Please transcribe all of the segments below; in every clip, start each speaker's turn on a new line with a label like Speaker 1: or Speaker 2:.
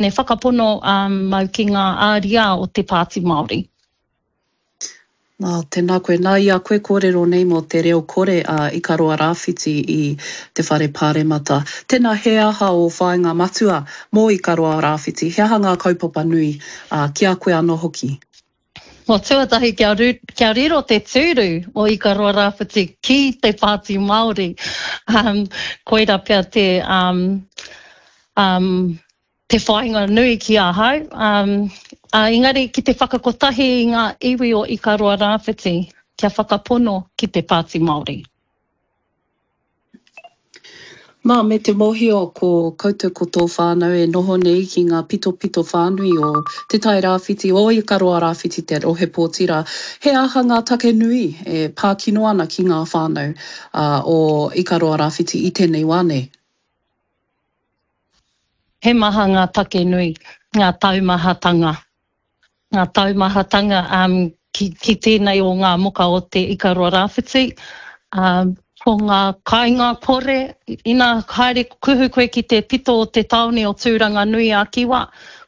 Speaker 1: Me whakapono au ki ngā ariā o te Pāti Māori.
Speaker 2: Nā, tēnā koe. Nā, i a koe kōrero nei mō te reo kore a Ikaroa Rāwhiti i te Whare Pāremata. Tēnā, he aha ō whāinga matua mō Ikaroa Rāwhiti? He aha ngā kaupapa nui, ā, ki a koe anō hoki?
Speaker 1: Well, tuatahi kia, kia riro te tūru o Ikaroa Rāwhiti ki te Pāti Māori. Um, koira pea te, um, um, te whāinga nui ki ahau. Um, uh, engari ki te whakakotahi i ngā iwi o Ikaroa Rāwhiti kia whakapono ki te Pāti Māori.
Speaker 2: Nā, me te mōhio ko koutou ko tō whānau e noho nei ki ngā pitopito whānui o Te Tai Rāwhiti, o Ikaroa Rāwhiti te rohe pōti rā, he aha ngā take nui e pā kino ana ki ngā whānau o Ikaroa Rāwhiti i tēnei wā nei?
Speaker 1: He maha ngā take nui, ngā taumahatanga. Ngā taumahatanga ki, ki tēnei o ngā moka o te Ikaroa Rāwhiti, ko ngā kāinga kore, ina haere kuhu koe ki te pito o te tāone o Tūranganui-a-Kiwa,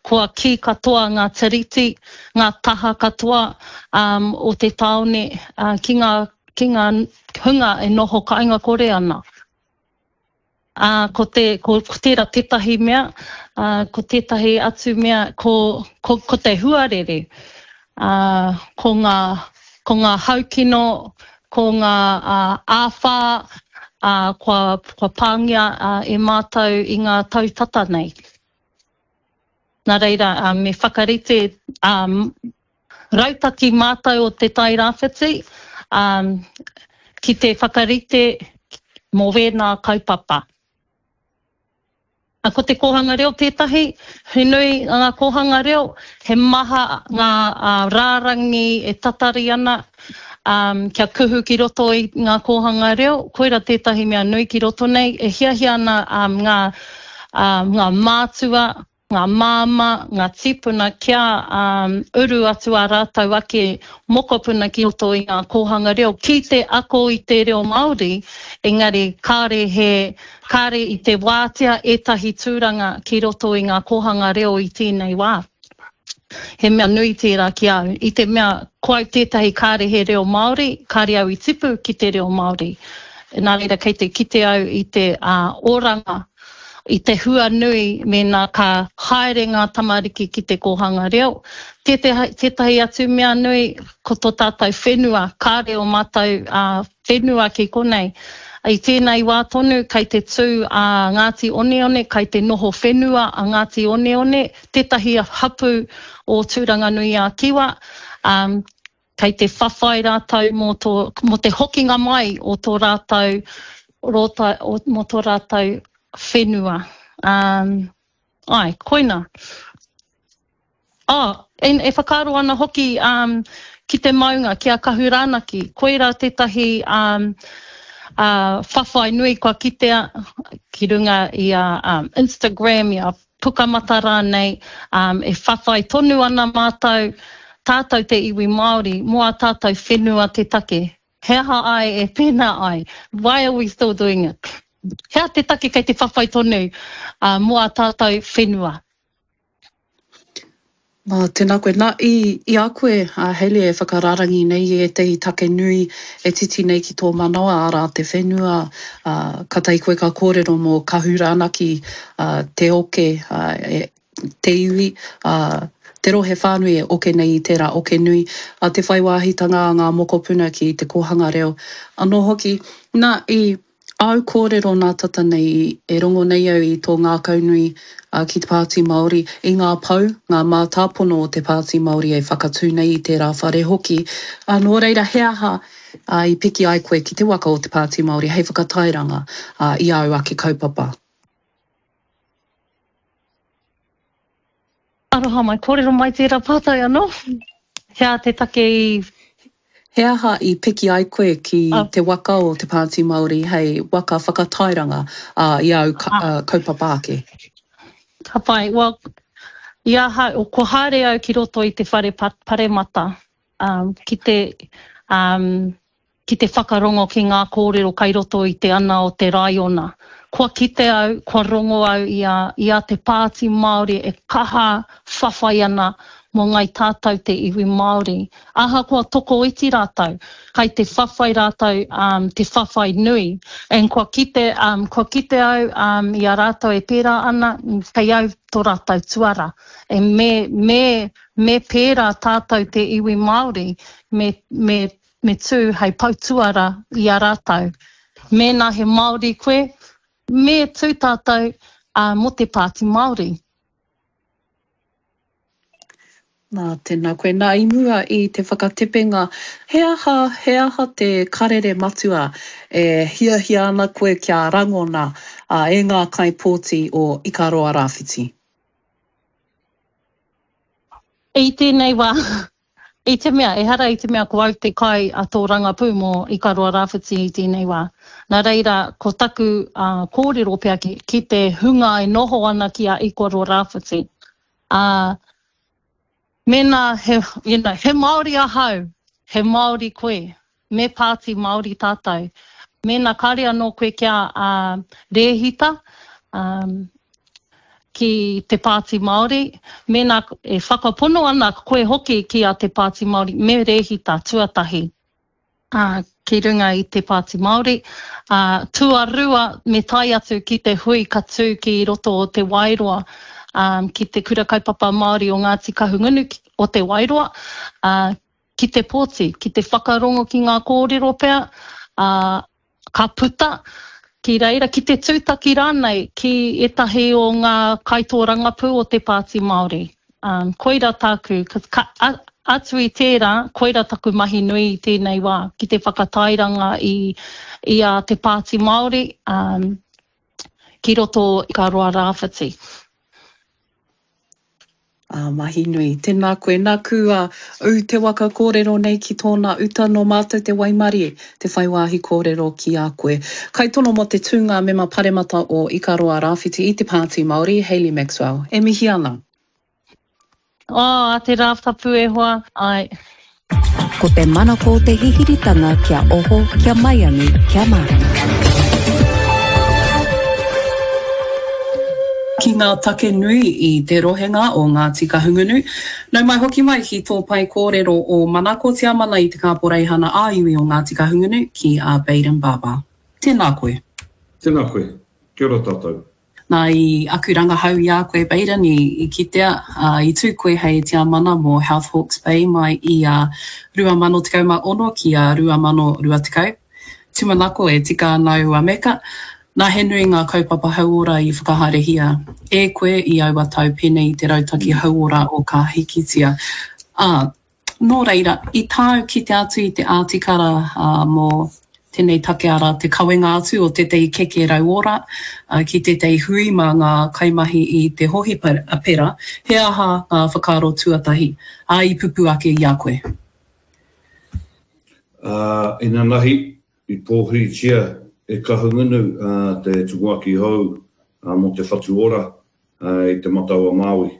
Speaker 1: kua kī katoa ngā tiriti, ngā taha katoa o te tāone ki ngā, ki ngā hunga e noho kāinga kore ana. Ā, ko te, ko, ko tērā tētahi mea, ā, ko tētahi atu mea, ko, ko, ko te huarere, ā, ko ngā, ko ngā haukino, ko ngā ā, āwhā, ā, kua, kua pāngia ā, e mātou i ngā tau tata nei. Nā reira, ā, me whakarite, ā, rautaki mātou o Te Tai Rāwhiti ki te whakarite mō wēnā kaupapa. Ko te kōhanga reo tētahi, he nui ngā kōhanga reo, he maha ngā rārangi e tatari ana kia kuhu ki roto i ngā kōhanga reo, koira tētahi mea nui ki roto nei, e hiahia ana ngā, ngā mātua, ngā māmā, ngā tīpuna kia uru atu ā rātou ake mokopuna ki roto i ngā kōhanga reo ki te ako i te reo Māori, engari kāre he, kāre i te wātea ētahi tūranga ki roto i ngā kōhanga reo i tēnei wā. He mea nui tērā ki a au, i te mea ko au tētahi kāre he reo Māori, kāre au i tipu ki te reo Māori. Nā reira kei te kite au i te oranga i te hua nui mēnā ka haere ngā tamariki ki te kōhanga reo. Tētahi atu mea nui, ko tō tātou whenua, kāre ō mātou whenua ki konei. I tēnei wā tonu kei te tū a Ngāti Oneone, kei te noho whenua a Ngāti Oneone, tētahi hapū o Tūranganui-a-Kiwa, Kei te whawhai rātou mō tō, mō te hokinga mai o tō rātou rōta, mō tō rātou whenua. Um, ai, koina. Oh, e, e whakaaro ana hoki um, ki te maunga, ki a Kahurānaki. Koirā tētahi um, uh, whawhai nui kua kitea ki runga i a um, Instagram, i a Pukamata rānei, ā, e whawhai tonu ana mātou, tātou te iwi Māori, mō ā tātou whenua te take. He aha ai e pēnā ai? Why are we still doing it? He aha te take kei te whawhai tonu, ā, mō ā tātou whenua?
Speaker 2: Nā, tēnā koe. Nā, i, i a koe, a Hayley, e whakararangi nei i ētahi take nui e titi nei ki tō manawa, arā, te whenua, ā, kātahi koe ka kōrero mō Kahurānaki, ā, te oke, ā, e, te iwi, ā, te rohe whānui e oke nei i tērā oke nui, ā, te whai wāhitanga a ngā mokopuna ki te kōhanga reo anō hoki. Nā, i. Āu kōrero nā tata nei e rongo nei au i tō ngākaunui ki te Pāti Māori, i ngā pou, ngā mātāpono o te Pāti Māori e whakatū nei i tērā whare hoki. Nō reira, he aha i piki ai koe ki te waka o te Pāti Māori hei whakatairanga i āu ake kaupapa?
Speaker 1: Aroha mai, kōrero mai tērā pātai anō. He aha te take i.
Speaker 2: He aha i piki ai koe ki te waka o Te Pāti Māori hei waka whakatairanga i āu kaupapa ake?
Speaker 1: Ka pai. Well, i ahau, kua haere au ki roto i te whare paremata ki te, ki te whakarongo ki ngā kōrero kai roto i te ana o te raiona. Kua kite au, kua rongo au i a, i a Te Pāti Māori e kaha whawhai ana mō ngai tātou te iwi Māori. Ahakoa tokoiti rātou, kai te whawhai rātou um, te whawhai nui. And kua kite, um, kua kite au um, i a rātou e pērā ana, kei au tō rātou tuara. And me, me, me pērā tātou te iwi Māori, me, me, me tū hei poutuara i a rātou. Mēnā he Māori koe, me tū tātou mō te Pāti Māori.
Speaker 2: Nā, tēnā koe. Nā, i mua i te whakatepenga, he aha, he aha te karere matua e hiahia ana koe kia rangona e ngā kaipōti o Ikaroa Rāwhiti?
Speaker 1: I tēnei wā, I te mea, ehara i te mea ko au te kai a tō rangapū mō Ikaroa Rāwhiti i tēnei wā. Nā reira, ko taku kōrero pea ki te hunga e noho ana ki a Ikaroa Rāwhiti, ā, mēnā he, you know, he Māori ahau, he Māori koe, me pāti Māori tātou. Mēnā kāre anō koe kia rēhita ki te Pāti Māori, mēnā e whakapono ana koe hoki ki a te Pāti Māori, me rēhita tuatahi ki runga i te Pāti Māori. Tuarua, me tae atu ki te hui ka tū ki roto o Te Wairoa, ki te Kura Kaupapa Māori o Ngāti Kahungunu o Te Wairoa, ki te pōti, ki te whakarongo ki ngā kōrero pea, ā, ka puta ki reira, ki te tūtaki rānei ki ētahi o ngā kaitōrangapū o te Pāti Māori. Ā, koira tāku, ka, a, atu i tērā, koira taku mahi nui i tēnei wā, ki te whakatairanga i, i a te Pāti Māori, ā, ki roto i Ikaroa Rāwhiti.
Speaker 2: Ā, mahi nui. Tēnā koe. Nāku a ū te waka kōrero nei ki tōna uta nō mātou te waimarie te whai wāhi kōrero ki a koe. Kaitono mō te tūnga mema paremata o Ikaroa Rāwhiti i te Pāti Māori, Hayley Maxwell. E mihi ana.
Speaker 1: Oh, a te Rātapu e hoa, āe.
Speaker 3: Ko te manako te hihiritanga kia oho, kia maiangi, kia mārama.
Speaker 2: Ki ngā take nui i te rohenga o Ngāti Kahungunu. Nau mai hoki mai ki tō pae kōrero o Manako Tiamana i te Kāporeihana ā-Iwi o Ngāti Kahungunu ki a Bayden Barber. Tēnā koe.
Speaker 4: Tēnā koe. Kia ora tātou.
Speaker 2: Nā, i aku rangahau i a koe, Bayden, i kitea, i tū koe hei tiamana mō Health Hawke's Bay mai i a 2016 ki a 2020. Tūmanako e tika ana aua meka, nā he nui ngā kaupapa hauora i whakahaerehia e koe i aua tau pēnei i te rautaki hauora o Ka Hikitia. Ā, Nō reira, i tāu kite atu i te ātikara mō tēnei take arā te kawenga atu o tētahi keke rauora ki tētahi hui mā ngā kaimahi i te hohipera, he aha ngā whakaaro tuatahi, ā, i pupū ake i a koe?
Speaker 4: Ā, inanahi, i pōhiritia e Kahungunu te tumuaki hou mō Te Whatu Ora i Te Matau-a-Māui,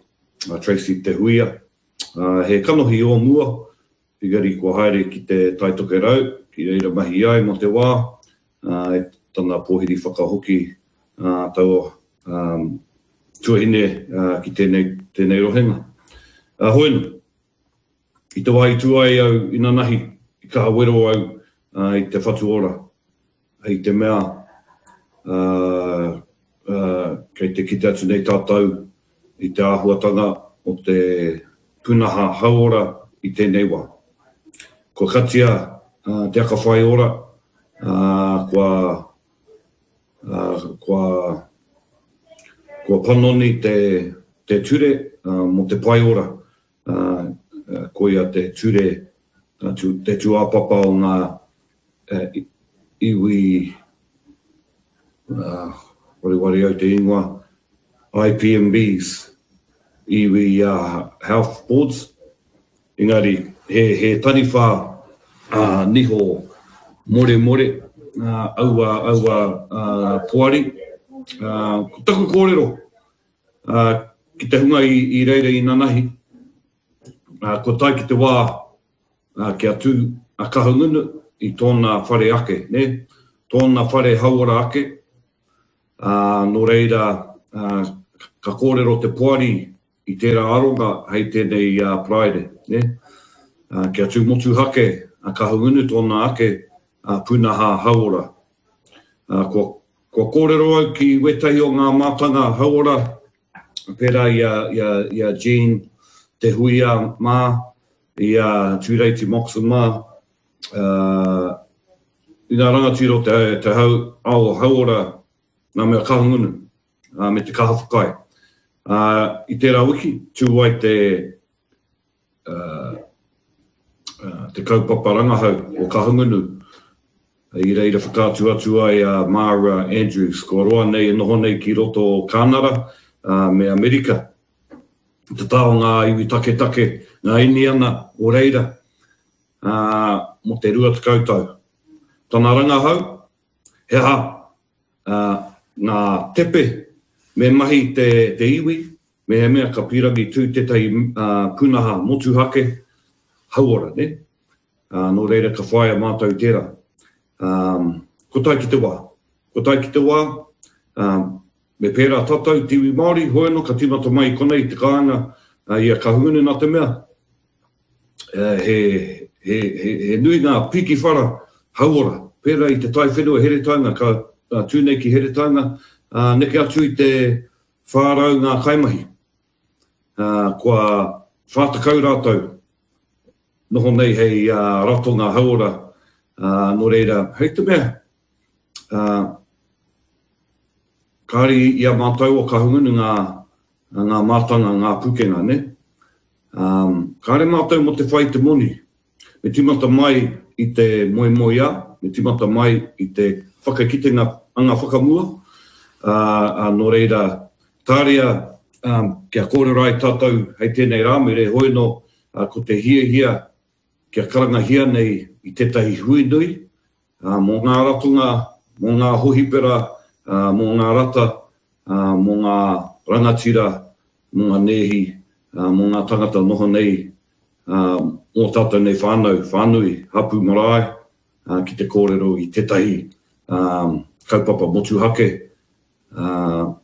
Speaker 4: a Tracey Te Huia. He kanohi o mua, engari kua haere ki te Tai Tokerau, ki reira mahi ai mō te wā, i tana pōhiri whakahoki taua tuahine ki tēnei, tēnei rohenga. Hoenu, i te wā i tū ai au inanahi, i kaha wero au i te whatu ora, hei te mea kei te kite atu nei tātou i te āhuatanga o te pūnaha hauora i tēnei wā. Kua katia te aka whai ora, kua, kua, kua panoni te, te ture mō te pae ora, koia te ture, te tūāpapa o ngā iwi, wareware au te ingoa, IPMBs, iwi Health Boards, engari he, he taniwha niho moremore aua, aua poari. Ko taku kōrero ki te hunga i reira inanahi, kua tae ki te wā Ā, kia tū a Kahungunu i tōna whare ake, nē, tōna whare hauora ake, Ā, nō reira, ā, ka kōrero te poari i tērā aronga hei tēnei Paraire, nē? Ā, kia tū motuhake a Kahungunu tōna ake pūnaha hauora. Ā, kua, kua kōrero au ki wētahi o ngā mātanga hauora, pērā i a, i a, i a Jean Te Huia mā, i a Tūreiti Moxon mā, ā, i ngā rangatira o te, te hau, ao hauora, ngā mea Kahungunu, ā, me te kaha whakaae. Ā, i tērā wiki, tū ai te, ā, ā, te kaupapa rangahau o Kahungunu, i reira whakaatu atu ai a Māra Andrews, kua roa nei e noho nei ki roto o Kānara, ā, me Amerika, te taha o ngā iwi taketake, ngā Iniana o reira, ā, mō te 20 tau. Tana rangahau, he aha ā, ngā tepe me mahi te, te iwi, mehemea ka pīrangi tū tētahi ā, pūnaha motuhake hauora, nē? Ā, nō reira ka whāia mātou tērā. Ā, ko tae ki te wā. Ko tae ki te wā, ā, me pērā tātou, te iwi Māori, hoi anō ka tīmata mai i konei i te kāinga, ā, i a Kahungunu nā te mea, he, he, he, he nui ngā piki whara hauora, pērā i te taiwhenua Heretaunga, ka tū nei ki Heretaunga, ā, neke atu i te 400 ngā kaimahi. Ā, kua 40 rātou noho nei hei ratonga hauora, ā, nō reira, hei te mea, ā, kāre i a mātou o Kahungunu ngā, ngā mātanga, ngā pūkenga, nē? Ā, kāre mātou mō te whai i te moni. Me tīmata mai i te moemoeā, me tīmata mai i te whakakitenga anga whakamua, ā, ā, nō reira, tāria, ā, kia kōrero ai tātou hei tēnei Rāmere, hoi nō, ā, ko te hiahia kia karangahia nei i tētahi hui nui, ā, mō ngā ratonga, mō ngā hohipera, ā, mō ngā rata, ā, mō ngā rangatira, mō ngā nēhi, ā, mō ngā tangata noho nei, ā, mō tātou nei whānau, whānui, hapū marae, ā, ki te kōrero i tētahi, ā, kaupapa motuhake, ā,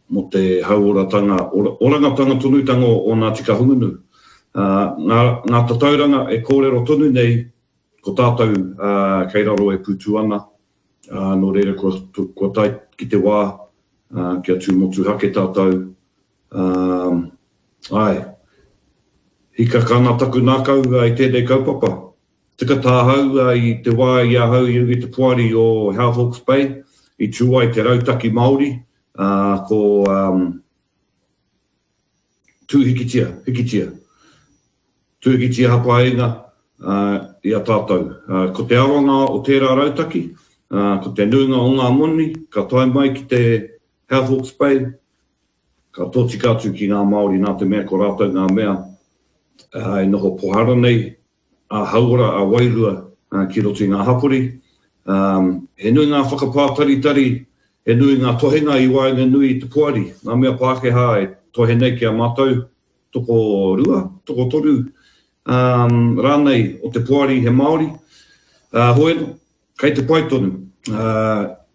Speaker 4: mō te hauoratanga, orangatanga tonutanga o Ngāti Kahungunu. Ā, ngā, ngā tatauranga e kōrero tonu nei, ko tātou, ā, kei raro e pūtū ana, ā, nō reira kua, kua tae ki te wā, ā, kia tū motuhake tātou, ā, āe, hikaka ana taku ngākau i tēnei kaupapa. Tika tāhau i te wā i ahau i runga i te poari o Health Hawke's Bay, i tū ai te rautaki Māori, ā, ko Tū Hikitia, Hikitia. Tū Hikitia Hapainga, ā, i a tātou. Ā, ko te aronga o tērā rautaki, ā, ko te nuinga o ngā moni ka tae mai ki te Health Hawke's Bay, ka tōtika atu ki ngā Māori nā te mea ko rātou ngā mea e noho pohara nei ā-hauora, ā-wairua ki roto i ngā hapori. He nui ngā whakapātaritari, he nui ngā tohenga i waenganui i te poari, ngā mea Pākehā e tohe nei ki a mātou, tokorua, tokotoru rānei o te poari he Māori. Hoi anō, kei te pai tonu.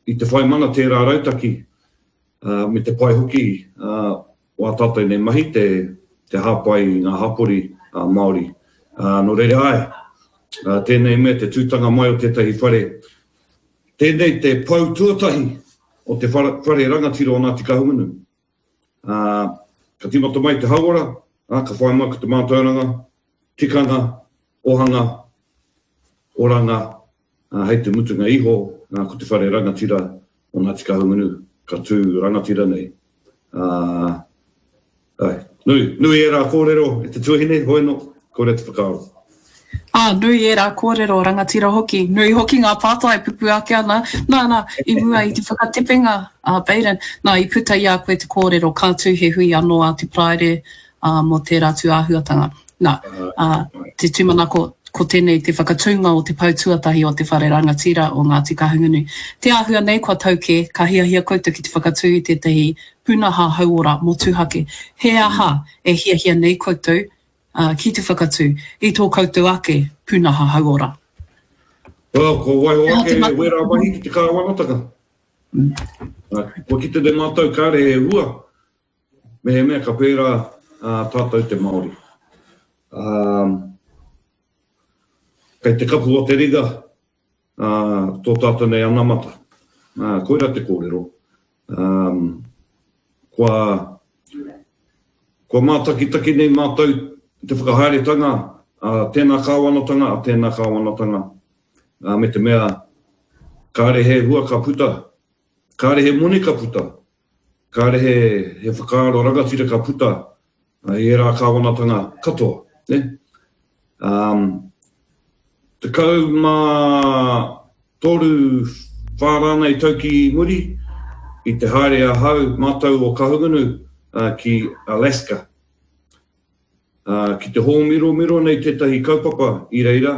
Speaker 4: I te whai mana tērā rautaki, me te pai hoki o ā tātou nei mahi te te hāpai i ngā hapori Māori. Nō reira, āe, tēnei mea te tūtanga mai o tētahi whare, tēnei te pou tuatahi o te whare rangatira o Ngāti Kahungunu. Ka tīmata mai te hauora, ka whai mai ko te mātauranga, tikanga, ohanga, oranga, ā, hei te mutunga iho, ā, ko te whare rangatira o Ngāti Kahungunu ka tū rangatira nei. Ā, āe, nui, nui ērā kōrero e te tuahine, hoi anō, kore te whakaaro.
Speaker 2: Ā, nui ērā kōrero rangatira hoki, nui hoki ngā pātai pupū ake ana, nā, nā, i mua i te whakatepenga a Baden, nā, i puta i a koe te kōrero ka tū he hui anō a te Paraire, ā, mō tērā tūāhuatanga. Nā, ā, te tūmanako, ko tēnei te whakatūnga o te pou tuatahi o te whare rangatira o Ngāti Kahungunu. Te āhua nei kua tau kē, ka hiahia koutou ki te whakatū i tētahi pūnaha hauora motuhake. He aha e hiahia nei koutou, ā, ki te whakatū i tō koutou ake pūnaha hauora?
Speaker 4: Well, kua waiho ake wērā mahi ki te kāwanatanga. Kua kite nei mātou kāre he hua, mehemea ka pērā tātou te Māori. Kei te kapu o te ringa tō tātou nei anamata. Koirā te kōrero. Kua, kua mātakitaki nei mātou te whakahaeretanga a tēnā kāwanatanga, a tēnā kāwanatanga, me te mea kāre he hua ka puta, kāre he moni ka puta, kāre he, he whakaaro rangatira ka puta i ērā kāwanatanga katoa, nē? Um, 13, whā rānei tau ki muri, i te haere ahau, mātou o Kahungunu, ki Alaska. Ki te hōmiromiro nei tētahi kaupapa i reira,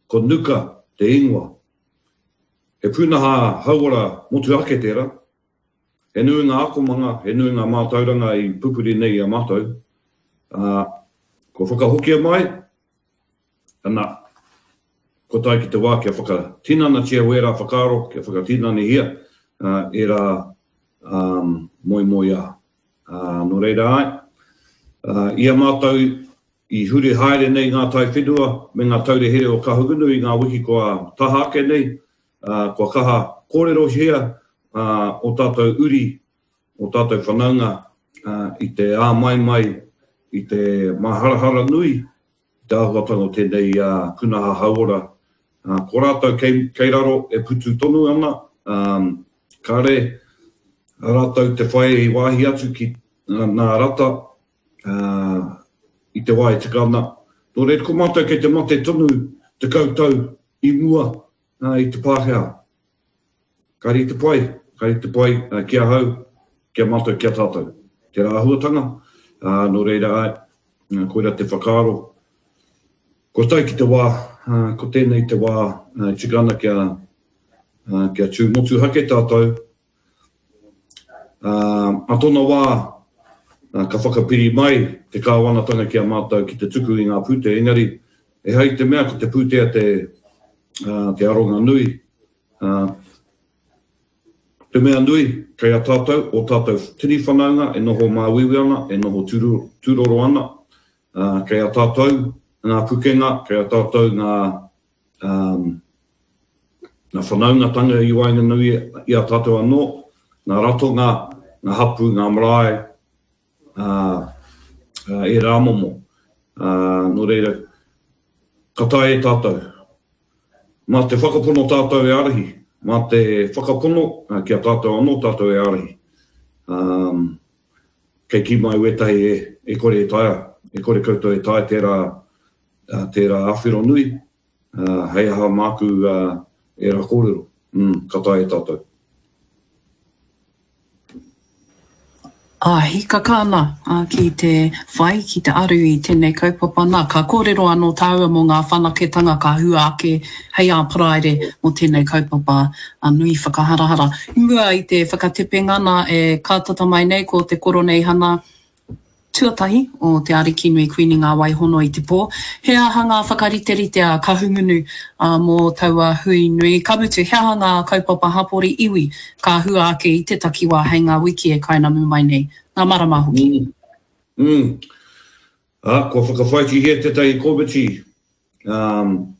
Speaker 4: ko Nuka te ingoa. He pūnaha hauora motuhake tērā. He nui ngā akomanga, he nui ngā mātauranga i pupuri nei i a mātou, ā, kua whakahokia mai, ana, kua tae ki te wā kia whakatinanatia wērā whakaaro, kia whakatinanahia ērā moemoeā. Ā, nō reira āe, i a mātou i huri haere nei ngā taiwhenua me ngā taura here o Kahungunu i ngā wiki kua taha ake nei, ā, kua kaha kōrerohia ō tātou uri, ō tātou whanaunga i te āmaimai, i te māharahara nui i te āhuatanga o tēnei pūnaha hauora. Ko rātou kei, kei raro e putu tonu ana, kāre rātou te whai wāhi atu ki ngā rata i te wā e tika ana. Nō reira, ko mātou kei te mate tonu 10 tau i mua i te Pākehā. Ka rite pai, ka rite pai ki ahau, ki a mātou, ki a tātou. Tērā āhuatanga, ā, nō reira āe, koirā te whakaaro. Kua tae ki te wā, ko tēnei te wā e tika ana kia, kia tū motuhake tātou, Ā, ā tōna wā, ka whakapiri mai te kāwanatanga ki a mātou ki te tuku i ngā pūtea, engari, ehara i te mea ko te pūtea te, ā, te aronga nui, ā, te mea nui, kei a tātou, ō tātou tini whanaunga e noho māuiui ana, e noho tūroro ana, ā, kei a tātou ngā pukenga, kei a tātou ngā, ā, ngā whanaungatanga i waenganui i a tātou anō, ngā ratonga, ngā hapū, ngā marae, ā, ērā momo. Ā, nō reira, ka taea e tātou. Mā te whakapono tātou e ārahi, mā te whakapono ki a tātou anō tātou e ārahi. Ā, kei kī mai wētahi e, e kore e taea, e kore koutou e taea tērā, tērā āwhero nui, Ā, hei aha māku ērā kōrero? Mm, ka taea e tātou.
Speaker 2: Ā, hīkaka ana ki te whai, ki te aru i tēnei kaupapa. Nā, ka kōrero anō tāua mō ngā whanaketanga ka hua ake hei ā Paraire mō tēnei kaupapa nui whakaharahara. I mua i te whakatepenga nā, e kātata mai nei ko te Koroneihana, tuatahi o Te Arikinui Kuini Ngā Wai Hono i te Pō. He aha ngā whakariterite a Kahungunu mō taua hui nui? Ka mutu, he aha ngā kaupapa hapori iwi ka hua ake i te takiwā hei ngā wiki e kainamu mai nei, ngā marama hoki?
Speaker 4: Mm. Mm. Ā, kua whakawhāitihia tētahi komiti um,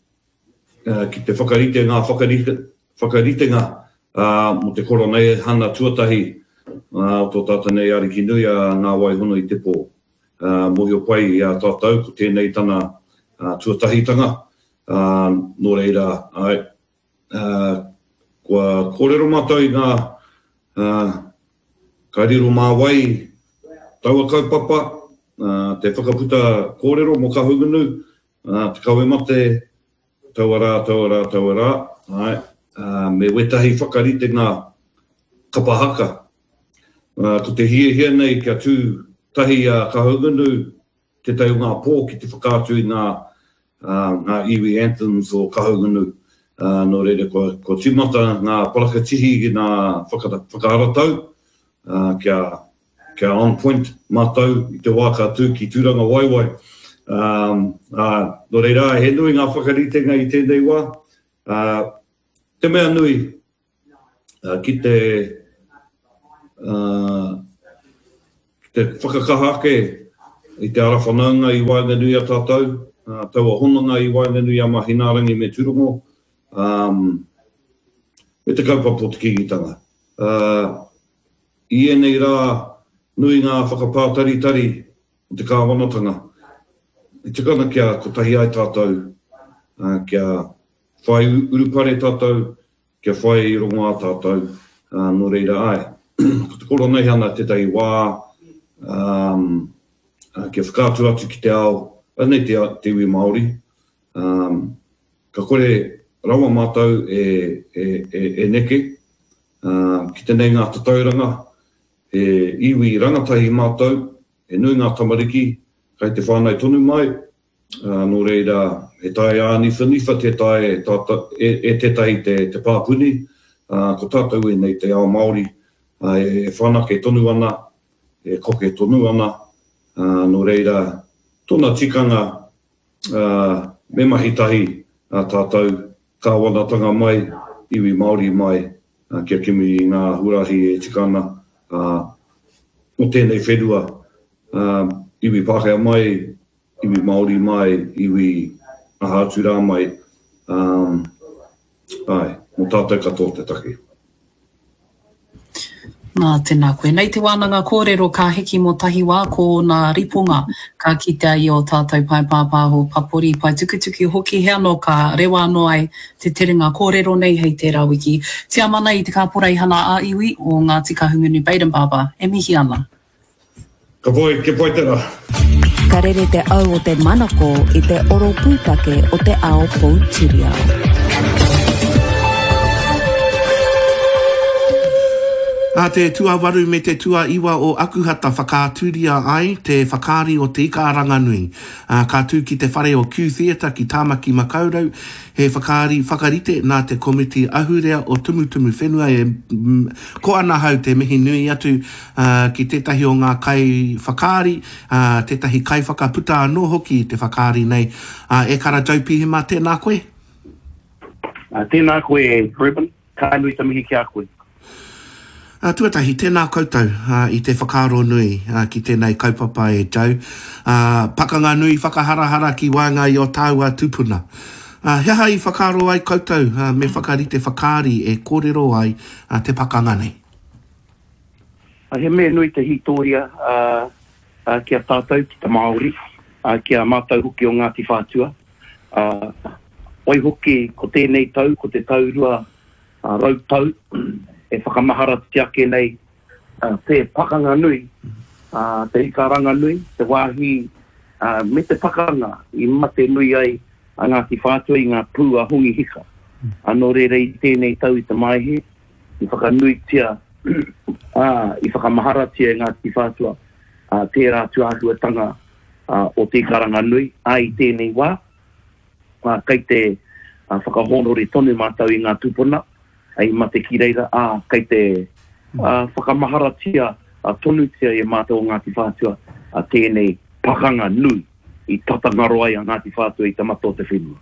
Speaker 4: ki te whakarite ngā whakaritenga mō te Koroneihana tuatahi o tō tātou nei Ariki nui a Ngā Wai Hono i te Pō. Mōhio pai i a tātou ko tēnei tana tuatahitanga, nō reira, āe, kua kōrero mātou i ngā, ka riro mā wai taua kaupapa, te whakaputa kōrero mō Kahungunu, Ā, te kawe mate, taua rā, taua rā, taua rā, āe, ā, me wētahi whakaritenga kapa haka. Ā, ko te hiahia nei kia tū tahi a Kahungunu, tētahi o ngā pō ki te whakaatu i ngā, ā, ngā iwi anthems o Kahungunu. Ā, nō reira, kua, kua tīmata ngā parakatihi ki ngā whaka, whakaharatau, ā, kia, kia on point mātou i te wā ka tū ki Tūrangawaewae. Ā, nō reira, he nui ngā whakaritenga i tēnei wā. Ā, te mea nui, ki te, Ki te whakakaha ake i te ara whanaunga i waenganui i a tātou, taua hononga i waenganui i a Mahinaarangi me Turongo, me te kaupapa o te Kīngitanga. I ēnei rā nui ngā whakapātaritari o te kāwanatanga e tika ana kia kotahi ai tātou, kia whai urupare tātou, kia whai rongoā tātou, nō reira āe, ko te Koroneihana tētahi wā kia whakaatu atu ki te ao, anei te te iwi Māori, ka kore rawa mātou e, e, e, e neke ki te nei ngā tatauranga, he iwi rangatahi mātou, he nui ngā tamariki kai te whānau tonu mai, Ā, nō reira, he tae āniwhaniwha tē taea e tātou, e, e tētahi te, te pāpuni, ā, ko tātou ēnei te ao Māori, ā, e whanake tonu ana, e koke tonu ana, ā, nō reira, tōna tikanga, ā, me mahi tahi ā tātou, kāwanatanga mai, iwi Māori mai, ā, kia kimi i ngā huarahi e tika ana, ā, mō tēnei whenua, ā, iwi Pākehā mai, iwi Māori mai, iwi aha atu rā mai, ā, āe, mō tātou katoa te take.
Speaker 2: Nā, tēnā koe. Nei te wānanga kōrero ka hiki mō tahi wā ko ōna riponga ka kitea i ō tātou pae pāpāho papori, pae tukutuku hoki he anō ka rewa anō ai te terenga kōrero nei hei tērā wiki. Tiamana i te Kāporeihana ā-Iwi o Ngāti Kahungunu Bayden Barber e mihi ana.
Speaker 4: Ka pai, kia pai te ra.
Speaker 3: Ka rere te au o te manako i te oro pūtake o te ao poutiriao.
Speaker 5: Ā te tuawaru me te tuaiwa o Akuhata whakaaturia ai te whakaari o Te Ika-a-Ranganui. Ā, ka tū ki te whare o Q Theatre ki Tāmaki Makaurau, he whakaari whakarite nā te Komiti Ahurea o Tumutumu Whenua e Ko ana hau te mihi nui atu ki tētahi o ngā kaiwhakaari, tētahi kaiwhakaputa anō hoki i te whakaari nei, e Kara Joe Pihema, tēnā koe.
Speaker 6: Tēnā koe Reuben, ka nui te mihi ki a koe.
Speaker 5: Tuatahi, tēnā koutou i te whakaaro nui ki tēnei kaupapa e Joe. Pakanga nui whakaharahara ki waenga i o tāua tūpuna. He aha i whakaaro ai koutou me whakarite whakaari e kōrero ai te pakanga nei?
Speaker 6: He mea nui te hītōria ki a tātou, ki te Māori, ki a mātou hoki o Ngāti Whātua. Waihoki, ko tēnei tau, ko te tau 200 tau e whakamaharatia ake nei te pakanga nui, te ika-ranga-nui, te wāhi me te pakanga i mate nui ai a Ngāti Whātua i ngā pū a Hongi Hika. Nō reira i tēnei tau i te Maehe, i whakanuitia, ā, i whakamaharatia e Ngāti Whātua tērā tūāhuatanga o te ika-ranga-nui, ā, i tēnei wā, kei te whakahōnore tonu mātou i ngā tūpuna i mate ki reira, ā, kei te whakamaharatia tonutia e mātou o Ngāti Whātua tēnei pakanga nui i tata ngaro ai a Ngāti Whātua i te mata o te whenua.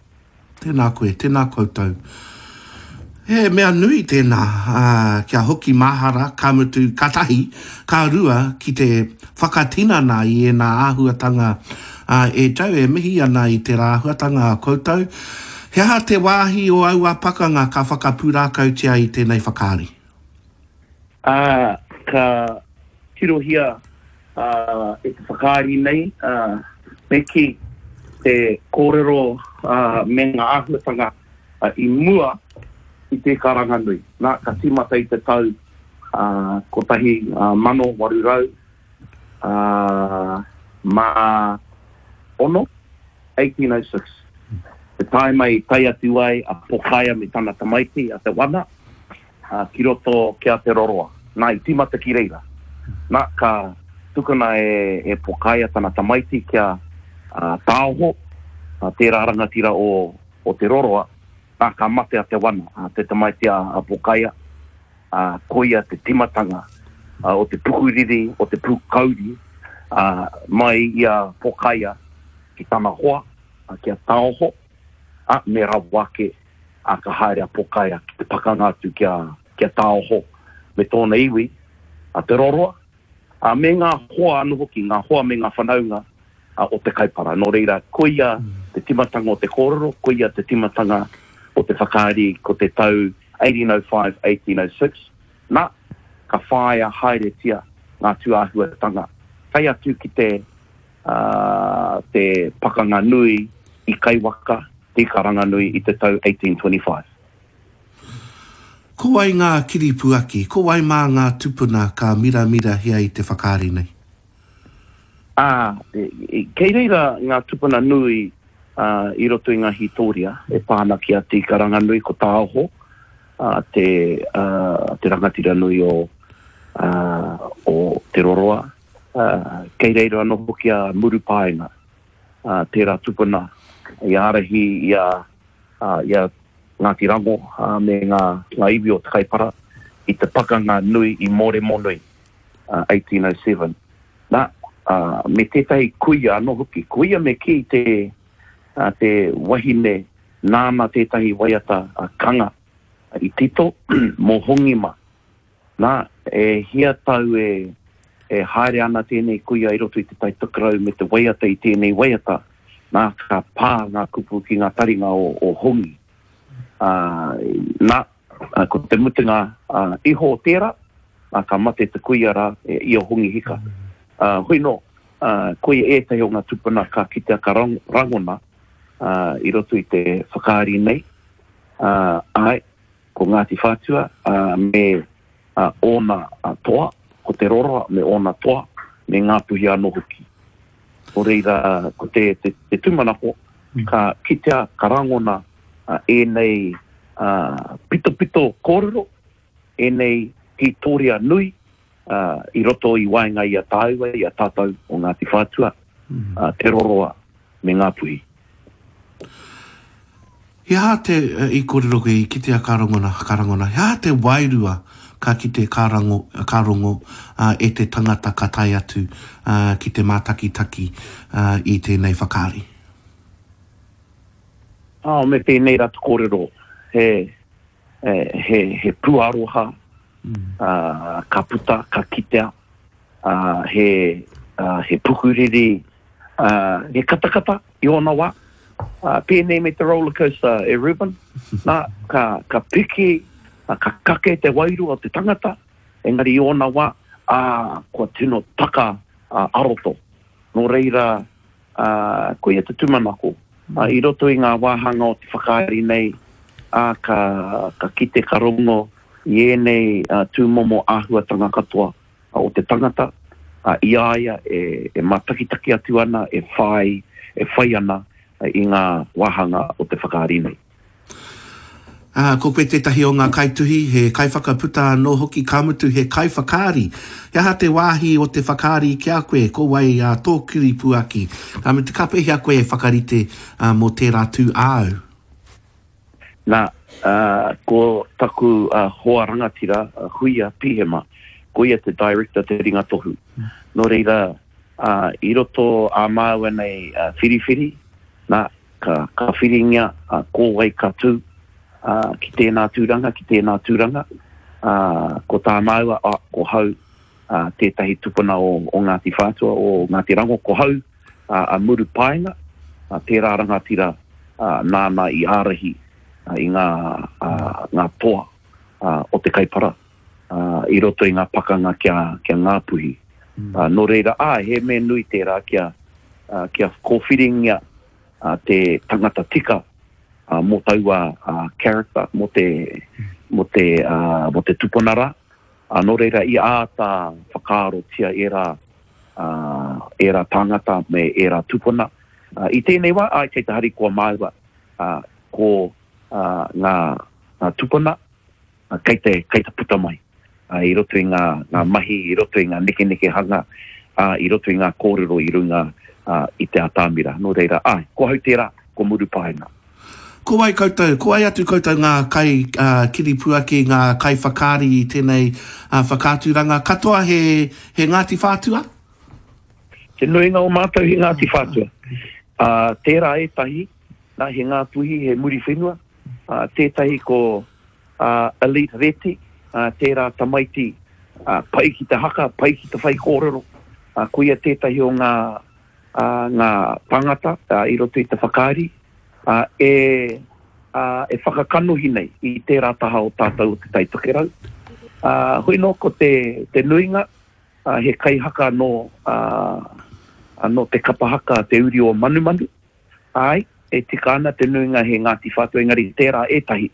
Speaker 5: Tēnā koe, tēnā koutou. He mea nui tēnā, ā, kia hoki mahara, ka mutu, ka tahi, ka rua, ki te whakatinana i ēnā āhuatanga, ā, e Joe, e mihi ana i tērā āhuatanga a koutou. He aha te wāhi o aua pakanga ka whakapūrākautia i tēnei whakaari?
Speaker 6: Ā, ka tirohia e te whakaari nei, me kī, te kōrero me ngā āhuatanga i mua i te karanga nui. Nā, ka tīmata i te tau 1806, 1806, te tāima i tae atu ai a Pokaia me tana tamaiti, a Te Wana, ki roto ki a Te Roroa. Nā, i tīmata ki reira. Nā, ka tukuna e, e Pokaia tana tamaiti kia Tāoho, tērā rangatira o, o Te Roroa, nā, ka mate a Te Wana, te tamaiti a, a Pokaia, ā, koia te tīmatanga o te pukuriri, o te pūkauri, ā, mai i a Pokaia ki tana hoa, ki a Tāoho, ā, me rawa ake ā, ka haere a Pokaia ki te pakanga atu ki a, ki a Tāoho me tōna iwi, a Te Roroa, ā, me ngā hoa anō hoki, ngā hoa me ngā whanaunga o te Kaipara. Nō reira, koia te timatanga o te kōrero, koia te timatanga o te whakaari ko te tau 1805, 1806, nā, ka whāia haeretia ngā tūāhuatanga, tae atu ki te, ā, te pakanga nui i Kaiwaka, Te Ikaranganui i te tau 1825.
Speaker 5: Ko wai ngā kiripuaki, ko wai mā ngā tupuna ka miramirahia i te whakaari nei?
Speaker 6: Ā, kei reira ngā tupuna nui i roto i ngā hītōria e pā ana ki a Te Ikaranganui, ko Tāoho, te, te rangatira nui o, o Te Roroa. Kei reira anō hoki a Murupaenga, tērā tupuna i ārahi i a, i a Ngāti Rango me ngā, ngā iwi o Te Kaipara i te pakanga nui i Mōremonui, 1807. Nā, me tētahi kuia anō hoki, kuia me kī te, te wahine nāna tētahi waiata kanga i tito mō Hongima. Nā, e hia tau e, e haere ana tēnei kuia i roto i te Tai Tokerau me te waiata i tēnei waiata, nā, ka pā ngā kupu ki ngā taringa o, o Hongi. Ā, nā, ko te mutunga iho o tērā, nā, ka mate te kuia rā, e, i a Hongi Hika. Ā, hoi nō, ā, koia ētahi o ngā tupuna ka kitea ka rangona, ā, i roto i te whakaari nei. Ā, āe, Ko Ngāti Whātua me ōna toa, ko Te Roroa me ōna toa, me Ngāpuhi anō hoki. Nō reira, ko te, te, te tūmanako, ka kitea, ka rangona ēnei pitopito kōrero, ēnei hītōria nui i roto i waenga i a tāua, i a tātou o Ngāti Whātua, Te Roroa me Ngāpuhi.
Speaker 5: He aha te, i kōrero koe, i kitea ka rangona, ka rangona, he aha te wairua ka kite, ka rango, ka rongo e te tangata ka tae atu ki te mātakitaki i tēnei whakaari?
Speaker 6: Oh, me pēnei rā te kōrero, he, he, he pūaroha, ka puta, ka kitea, he, he pukuriri, he katakata i ōna wā, pēnei me te roller coaster e Reuben, nā, ka, ka piki, ka kake te wairua o te tangata, engari i ōna wā, ā, kua tino taka a roto. Nō reira, ā, koia te tūmanako, i roto i ngā wāhanga o te whakaari nei, ā, ka, ka kite, ka rongo i ēnei tūmomo āhuatanga katoa o te tangata, ā, i a ia e, e mātakitaki atu ana, e whai, e whai ana i ngā wāhanga o te whakaari nei.
Speaker 5: Ā, ko koe tētahi o ngā kaituhi, he kaiwhakaputa anō hoki, ka mutu he kaiwhakaari. He aha te wāhi o te whakaari ki a koe? Ko wai ā tō kiripuaki? Ka mutu, ka pēhea koe e whakarite mō tērā tū āu?
Speaker 6: Nā, ā, ko taku hoa rangatira, a Huia Pihema, ko ia te director, te ringa tohu. Nō reira, ā, i roto ā māua nei whiriwhiri, nā, Ka, ka whiringia a ko wai ka tū, ā, ki tēnā tūranga, ki tēnā tūranga, ā, ko tā māua, ā, ko hau, ā, tētahi tupuna o, o Ngāti Whātua, o Ngāti Rango, ko hau, ā, a Murupaenga, ā, tērā rangatira, ā, nāna i ārahi, ā, i ngā, ā, ngā toa, ā, o te Kaipara, ā, i roto i ngā pakanga ki a, ki a Ngāpuhi. Ā, nō reira, āe, he mea nui tērā kia, ā, kia kōwhiringia, ā, te tangata tika, ā, mō taua, ā, character, mō te, mō te, ā, mō te tupuna rā. Ā, nō reira, i āta whakaarotia ērā, ā, ērā tāngata me ērā tupuna. Ā, i tēnei wā, āe, kei te harikoa māua, ā, ko, ā, ngā, ngā tupuna, kei te, kei te puta mai i roto i ngā, ngā mahi, i roto i ngā nekenekehanga, ā, i roto i ngā kōrero i runga i te atamira. Nō reira, āe, ko ahau tērā, ko Murupaenga.
Speaker 5: Ko wai koutou, ko wai atu koutou ngā kai kiripuaki, ngā kaiwhakaari i tēnei whakaaturanga? Katoa he, he Ngāti Whātua?
Speaker 6: Te nuinga o mātou he Ngāti Whātua. Ā, tērā ētahi, nā, he Ngāpuhi, he Muriwhenua, ā, tētahi ko, ā, Elite Reti, ā, tērā tamaiti, Pai ki te haka, pai ki te whaikōrero. Koia tētahi o ngā, ngā tāngata i roto i te whakaari e, e whakakanohi nei i tērā taha o tātou o Te Tai Tokerau. Hoi nō ko te, te nuinga, he kaihaka nō, nō te kapa haka Te Uri o Manumanu. Āe, e tika ana te nuinga he Ngāti Whātua engari tērā ētahi,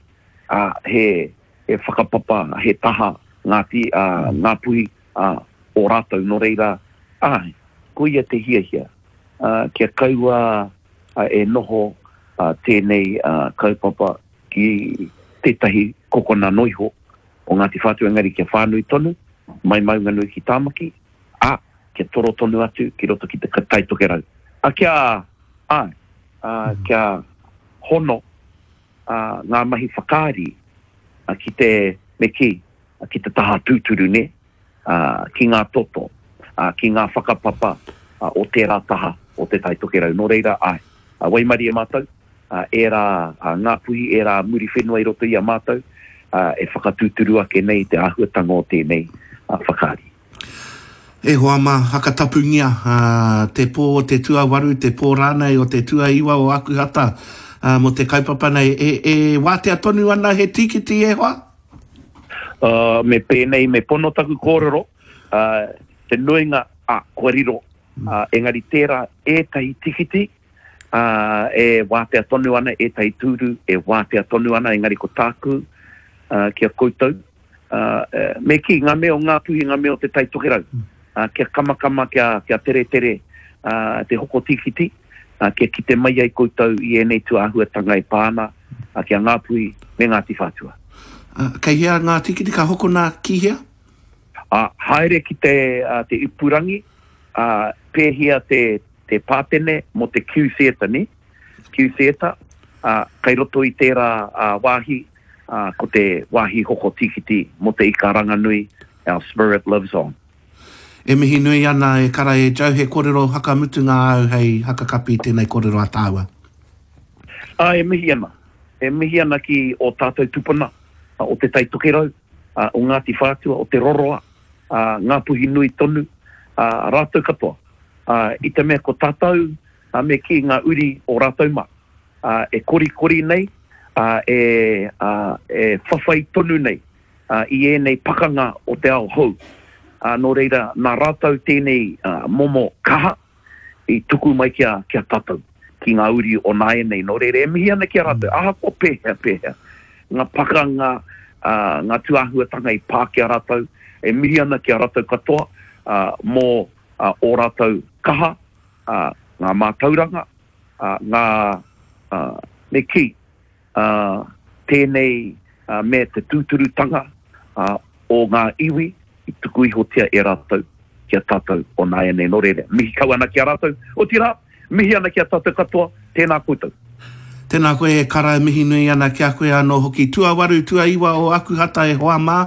Speaker 6: ā, he, he whakapapa, he taha Ngāti, ā, Ngāpuhi, ā, o rātou, nō reira, āe, koia te hiahia, ā, kia kaua e noho tēnei kaupapa ki tētahi kokona noiho o Ngāti Whātua engari kia whānui tonu, mai Maunganui ki Tāmaki, ā, kia toro tonu atu ki roto ki te Tai Tokerau. Ā, kia, āe, ā, kia hono, ā, ngā mahi whakaari, ā, ki te, me kī, ki te taha tūturu, nē, ā, ki ngā toto, ā, ki ngā whakapapa, ā, o tērā taha o Te Tai Tokerau. Nō reira, āe, ā, waimarie mātou, ā, ērā, ā, Ngāpuhi, ērā Muriwhenua i roto i a mātou, ā, e whakatūturu ake nei te āhuatanga o tēnei, ā, whakaari.
Speaker 5: E hoa mā, hakatapungia te pō o te tuawaru, te pō rānei o te tuaiwa o Akuhata mō te kaupapa nei. E, e wātea tonu ana he tīkiti e hoa?
Speaker 6: Uh, me pēnei, me pono taku kōrero, uh, te nuinga, ah, kua riro, uh, engari tērā ētahi tikiti, uh, e wātea tonu ana, ētahi tūru e wātea tonu ana, engari ko tāku uh, ki a koutou, uh, me kī, ngā mea o Ngāpuhi, ngā mea o Te Tai Tokerau, uh, kia kamakama, kia, kia teretere uh, te hoko tīkiti, uh, kia kite mai ai koutou i ēnei tūāhuatanga e pā ana uh, ki a Ngāpuhi me Ngāti Whātua.
Speaker 5: Uh, kei hea ngā tīkiti ka hokona ki hea?
Speaker 6: Uh, haere ki te, uh, te ipurangi, uh, pēhia te, te pātene mō te Q Theatre, nē? Q Theatre, ā, kei roto i tērā wāhi, ā, ko te wāhi hoko tīkiti mō te ika ranganui, Our Spirit Lives On.
Speaker 5: E mihi nui ana e kara e Joe, he korero hakamutunga āu hei hakakapi i tēnei korero a tāua.
Speaker 6: Ā, e mihi ana. E mihi ana ki ō tātou tupuna o Te Tai Tokerau, o Ngāti Whātua, o Te Roroa, ā, Ngāpuhi nui tonu, ā, rātou katoa. Ā, i te mea ko tātou, ā, me kī ngā uri o rātou mā, ā, e korikori nei, ā, e, ā, e whawhai tonu nei, ā, i ēnei pakanga o te ao hou. Ā, nō reira, nā rātou tēnei, ā, momo kaha i tuku mai ki a, ki a tātou, ki ngā uri o nāianei. Nō reira, e mihi ana ki a rātou, ahakoa pēhea, pēhea, ngā pakanga, ā, ngā tūāhuatanga i pā ki a rātou, e mihi ana ki a rātou katoa, ā, mō, ā, ō rātou kaha, ā, ngā mātauranga, ā, ngā, ā, me kī, ā, tēnei, ā, me te tūturutanga, ā, o ngā iwi i tuku ihotia e rātou ki a tātou o nāianei. Nō reira, mihi kau ana ki a rātou, otirā, mihi ana ki a tātou katoa, tēnā koutou.
Speaker 5: Tēnā koe e kara e mihi nui ana ki a koe anō hoki. Tuawaru, tuaiwa o Akuhata e hoa mā,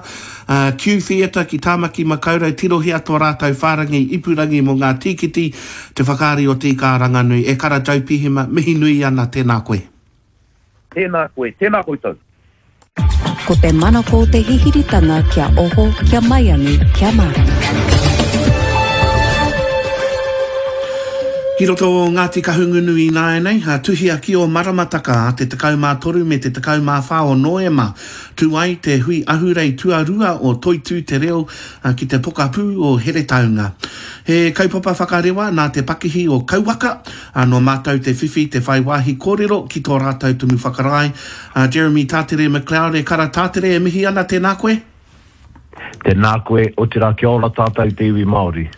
Speaker 5: Q Theatre ki Tāmaki Makaurau tirohia tō rātou whārangi ipurangi mō ngā tīkiti, te whakaari o Te Ika-a-Ranganui. E kara Joe Pihema, mihi nui ana, tēnā koe.
Speaker 6: Tēnā koe, tēnā koutou.
Speaker 3: Ko te manako o te hihiritanga kia oho, kia maiangi, kia mārama.
Speaker 5: Ki roto o Ngāti Kahungunu ināianei, tuhia ki ō maramataka a te 13 me te 14 o Noema, tū ai te hui ahurei tuarua o Toitū Te Reo ki te pokapū o Heretaunga. He kaupapa whakarewa nā te pakihi o Kauwaka, nō mātou te whiwhi te whai wāhi kōrero ki tō rātou tumu whakarae, A Jeremy Tātere McLeod e kara Tātere e mihi ana tēnā koe.
Speaker 7: Tēnā koe, otirā kia ora tātou te iwi Māori.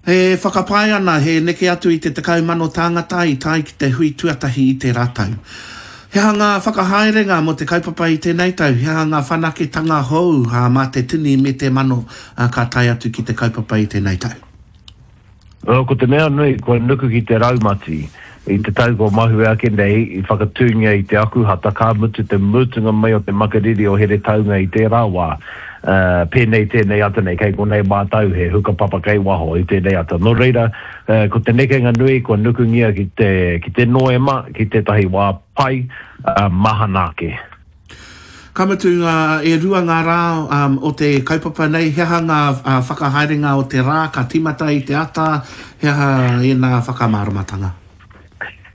Speaker 5: E whakapae ana he neke atu i te 10,000 tāngata i tae ki te hui tuatahi i tērā tau. He aha ngā whakahaerenga mō te kaupapa i tēnei tau? He aha ngā whanaketanga hou mā te tini me te mano ka tae atu ki te kaupapa i tēnei tau?
Speaker 7: Ko te mea nui, kua nuku ki te raumati. I te tau kua mahue ake nei, i whakatūngia i te Akuhata, ka mutu te mutunga mai o te makariri o Heretaunga i tērā wā. Pēnei tēnei ata nei, kei konei mātou, he hukapapa kei waho i tēnei ata. Nō reira, ko te nekenga nui kua nukungia ki te, ki te Noema, ki tētahi wā pai, mahana ake.
Speaker 5: Ka mutu, e rua ngā rā o te kaupapa nei, he aha ngā whakahaerenga o te rā ka tīmata i te ata, he aha ēnā whakamāramatanga?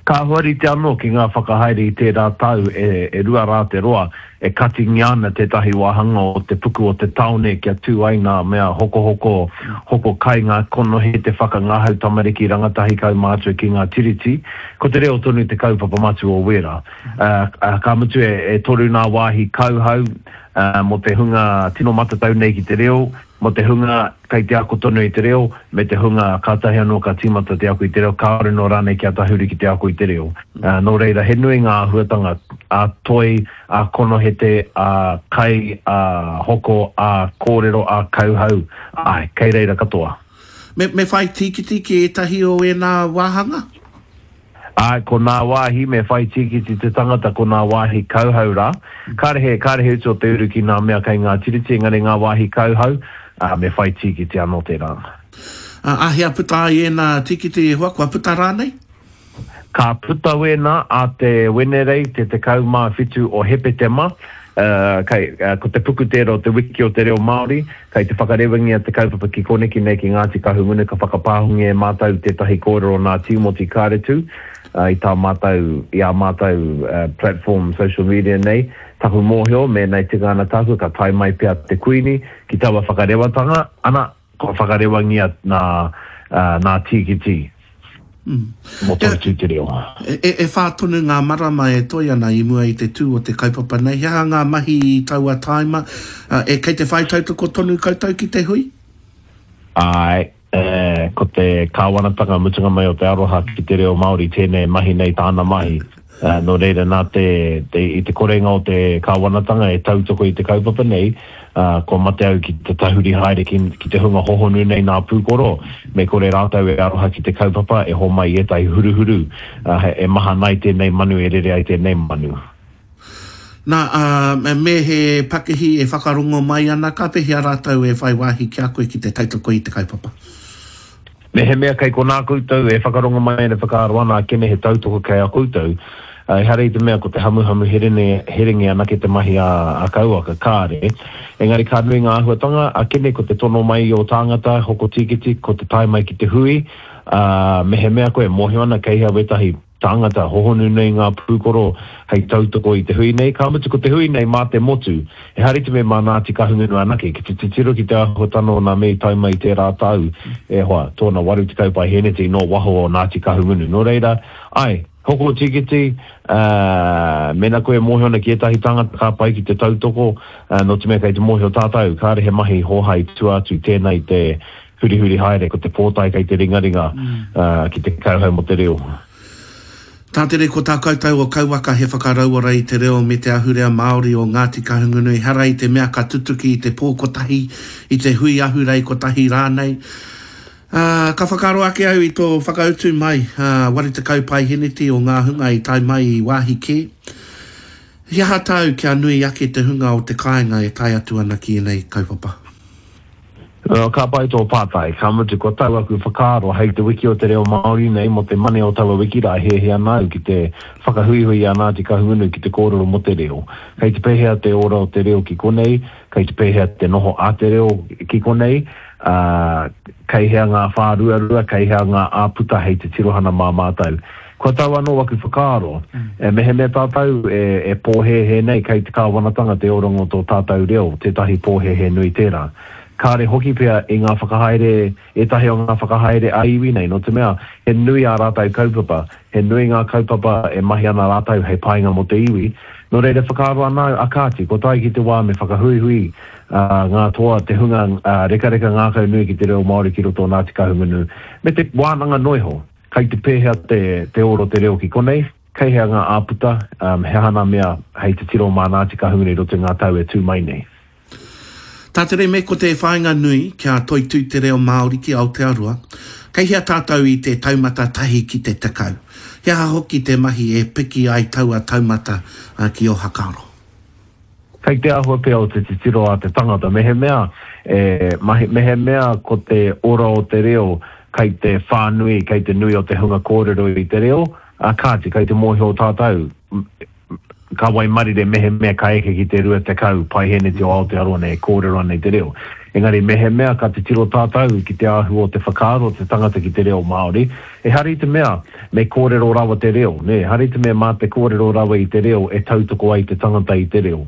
Speaker 7: Ka huarite anō ki ngā whakahaere i tērā tau e rua rā te roa, e katingia ana tētahi wāhanga o te puku o te tāone kia tū ai ngā mea hokohoko, hoko kai, ngā konohi, te whakangahau tamariki, rangatahi kaumātua ki ngā tiriti. Ko te reo tonu te kaupapa matua o wērā. Ka mutu e toru ngā wāhi kauhau mō te hunga tino matatau nei ki te reo, Mō te hunga kei te ako tonu i te reo, me te hunga kātahi anō ka tīmata te ako i te reo, kāore nō rānei kia tahuri ki te ako i te reo. Nō reira, he nui ngā āhuatanga ā-toi, ā-konohete, ā-kai, ā-hoko, ā-kōrero, ā-kauhau, āe, kei reira katoa.
Speaker 5: Me, me whai tīkiti ki ētahi o ēnā wāhanga?
Speaker 7: Āe, ko nā wāhi me whai tīkiti te tangata, ko nā wāhi kauhau rā. Kāre he, kāre he utu o te uru ki nā mea kei ngā tiriti, engari ngā wāhi kauhau, ā, me whai tīkiti anō tērā.
Speaker 5: Ā, āhea puta ai ēnā tīkiti e hoa, kua puta rānei?
Speaker 7: Ka puta wēnā ā te Wenerei te 17 o Hepetema, ā, kei, ko te puku tērā o te Wiki o te Reo Māori, Kei te whakarewangia te kaupapa ki koneki nei ki Ngāti Kahungunu ka whakapāhungia e mātou tētahi kōrero nā Tīmoti Kāretu i tā mātou, i ā mātou platform social media nei. Taku mōhio, mēnā e tika ana tāku, ka tae mai pea te Kuini ki taua whakarewatanga, ana, kua whakarewangia nā, nā Tīkiti. Mō Toitū Te Reo.
Speaker 5: E whā tonu ngā marama e toe ana i mua i te tū o te kaupapa nei. He aha ngā mahi i taua tāima? E kei te whai tautoko tonu koutou ki te hui?
Speaker 7: Āe, ko te kāwanatanga mutunga mai o te aroha ki te reo Māori tēnei e mahi nei tāna mahi. Nō reira, nā te, te, i te korenga o te kāwanatanga e tautoko i te kaupapa nei, ā, kua mate au ki te tahuri haere ki, ki te hunga hohonu nei nā pūkoro, me kore rātou e aroha ki te kaupapa, e homai i ētahi huruhuru, ā, e mahana ai tēnei manu, e rere ai tēnei manu.
Speaker 5: Nā, ā, me he pakihi e whakarongo mai ana, ka pēhea rātou e whai wāhi ki a koe ki te tautoko i te kaupapa?
Speaker 7: Mehemea kei konā koutou e whakarongo mai ana e whakaaro ana akene he tautoko kei a koutou, ehara i te mea ko te hamuhamu herene, herenge anake te mahi a, a Kauaka, kāre. Engari ka nui ngā āhuatanga, akene ko te tono mai i ō tāngata, hoko tīkiti, ko te tae mai ki te hui, ā, mehemea koe e mōhio ana kei hea wētahi tāngata hohonu nei ngā pūkoro hei tautoko i te hui nei, ka mutu ko te hui nei mā te motu, ehara i te mea mā Ngāti Kahungunu anake, ki te titiro ki te āhuatana o nā mea i tae mai i tērā tau, e hoa, tōna 80 paihēneti nō waho o Ngāti Kahungunu. Nō reira, āe, hoko tīkiti, ā, mēnā koe e mōhio ana ki ētahi tāngata ka pai ki te tautoko, ā, nō te mea kei te mōhio tātou, kāre he mahi hōhā i tua atu tēnā i te Hurihuri haere, ko te pōtae kei te ringaringa ki te kauhau mō te reo.
Speaker 5: Tātere ko tā koutou o Kauwaka he whakarauora i te reo me te ahurea Māori o Ngāti Kahungunu ehara i te mea ka tutuki i te pō kotahi, i te hui ahurei kotahi rānei. Ā, ka whakaaro ake au i tō whakautu mai, ā, 80 paeheneti o ngā hunga i tae mai i wāhi kē. He aha tāu kia nui ake te hunga o te kāinga e tae atu ana ki ēnei kaupapa?
Speaker 7: Ka pai tō pātai, ka mutu kua tau aku whakaaro hei te wiki o te reo Māori nei mō te mane o taua wiki rā e hiahia ana au ki te whakahuihui i a Ngāti Kahungunu ki te kōrero mō te reo. Kei te pēhea te ora o te reo ki konei, kei te pēhea te noho a te reo ki konei, ā, kei hea ngā whāruarua, kei hea ngā āputa hei te tirohana mā mātou. Kua tau anō aku whakaaro, mehemea tātou e pōhēhē nei kei te kāwanatanga te oranga o tō tātou reo, tētahi pōhēhē nui tērā. Kāre hoki pea i ngā whakahaere, ētahi o ngā whakahaere ā-iwi nei, nō te mea he nui ā rātou kaupapa, he nui ngā kaupapa e mahi ana rātou hei painga mō te iwi. Nō reira whakaaro ana au, a kāti, kua tae ki te wā me whakahuihui ngā toa, te hunga rekareka ngākau nui ki te reo Māori ki roto o Ngāti Kahungunu, me te wānanga noa iho. Kei te pēhea te, te oro te reo ki konei? Kei hea ngā āputa? Um, he aha nā mea hei titiro mā Ngāti Kahungunu i roto i ngā tau e tū mai nei?
Speaker 5: Tātere me ko te whāinga nui kia toitū te reo Māori ki Aotearoa, kei hea tātou i te taumata tahi ki te 10? He aha hoki te mahi e piki ai taua taumata ki ō hakaaro?
Speaker 7: Kei te āhua pea o te titiro a te tangata, mehemea e mahi, mehemea ko te ora o te reo kei te whānui, kei te nui o te hunga kōrero i te reo, ā, kāti, kei te mōhio tātou, ka waimarire mehemea ka eke ki te 20 paeheneti o Aotearoa nei e kōrero ana i te reo. Engari mehemea ka titiro tātou ki te āhua o te whakaaro o te tangata ki te reo Māori, ehara i te mea me kōrero rawa te reo, nē, ehara i te mea mā te kōrero rawa i te reo e tautoko ai te tangata i te reo.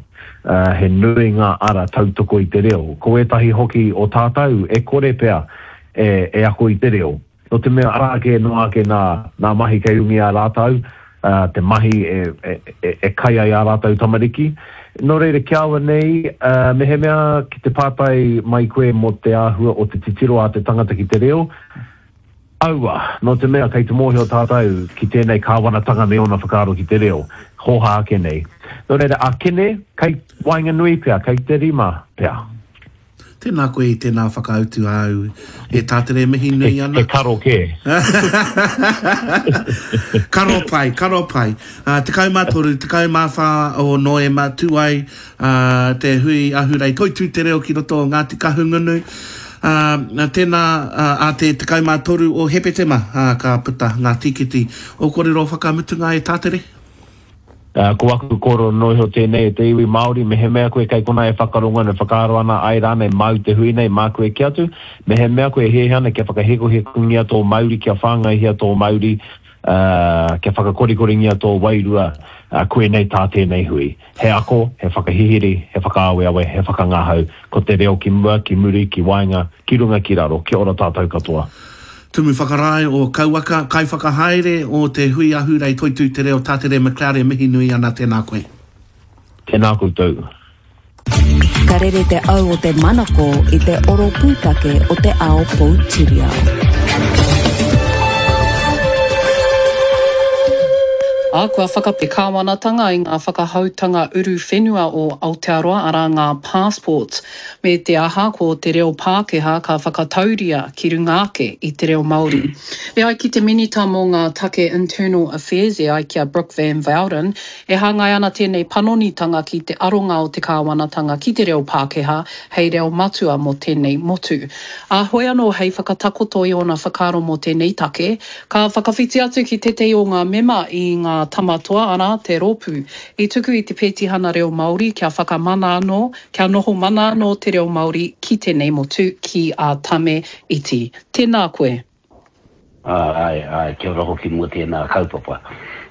Speaker 7: He nui ngā ara tautoko i te reo. Ko ētahi hoki o tātou e kore pea e ako i te reo. Nō te mea arā kē noa ake nā, nā mahi kei runga i a rātou, ā, te mahi e, e, e, e kai ai ā rātou tamariki. Nō reira, ki a au nei, ā, mehemea ki te pātai mai koe mō te āhua o te titiro a te tangata ki te reo, aua, nō te mea kei te mōhio tātou ki tēnei kāwanatanga me ōna whakaaro ki te reo, hōhā ake nei. Nō reira, ākene, kei waenganui pea, kei te rima pea.
Speaker 5: Tēnā koe i tēnā whakautu āu e Tātere mihi nui ana.
Speaker 7: He karo kē.
Speaker 5: Karo pai, karo pai. 13, 14 o Noema tū ai te hui ahurei Toitū Te Reo ki roto o Ngāti Kahungunu. Tēnā ā te 13 o Hepetema ka puta ngā tīkiti. Ō kōrero whakamutunga e Tātere?
Speaker 7: Ā, ko aku kōrero noa iho tēnei e te iwi Māori, mehemea koe kei konā e whakarongo ana, e whakaaro ana, āe rānei, māu te hui nei, māku e kī atu, mehemea koe e hiahia ana kia whakahekohekongia tō mauri, kia whāngaihia tō mauri, ā, kia whakakorikoringia tō wairua, ā, koinei tā tēnei hui. He ako, he whakahihiri, he whakaaweawe, he whakangahau, ko te reo ki mua, ki muri, ki waenga, ki runga, ki raro, kia ora tātou katoa.
Speaker 5: Tumu Whakarae o Kauaka, Kaiwhakahaere o te Hui Ahurei Toitū Te Reo Tātere McLeod e mihi nui ana tēnā koe.
Speaker 7: Tēnā koutou.
Speaker 3: Ka rere te au o te manako i te oro pūtake o te ao poutiriao.
Speaker 2: Ā, kua whaka te kāwanatanga i ngā whakahoutanga uruwhenua o Aotearoa, arā ngā passports. Me te aha, ko te reo Pākehā ka whakatauria ki runga ake i te reo Māori. E ai ki te Minita mō ngā Take Internal Affairs, e ai ki a Brooke Van Vouden, e hāngai ana tēnei panonitanga ki te aronga o te kāwanatanga ki te reo Pākehā hei reo matua mō tēnei motu. Ā, hoi anō hei whakatakoto i ōna whakaaro mō tēnei take, ka whakawhiti atu ki tētehi o ngā mema i ngā Tama Toa, arā, te rōpū i tuku i te pētihana reo Māori kia whakamana anō Kia noho mana anō te reo Māori ki tēnei motu, ki a Tame Iti. Tēnā koe.
Speaker 8: Āe, āe, kia ora hoki mō tēnā kaupapa.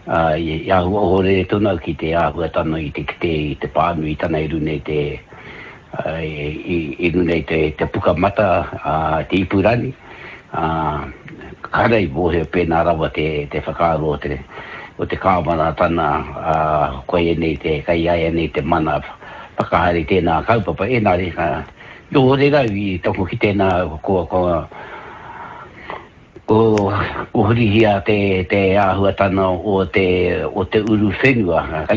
Speaker 8: Āe, i āhua ohorere tonu au ki te āhuatanga i te kite i te pānuitanga i runga i te, i runga i te pukamata a te ipurangi. Ā, kāre i mōhio pēnā rawa te, te whakaaro o te, o te kāwanatana, ā, koia nei te, kei a ia nei te mana whakahaere i tēnā kaupapa. Engari, ka ohorere au i taku kitenga kua, kua, ko, ko hurihia te, te āhuatana o te, o te uruwhenua.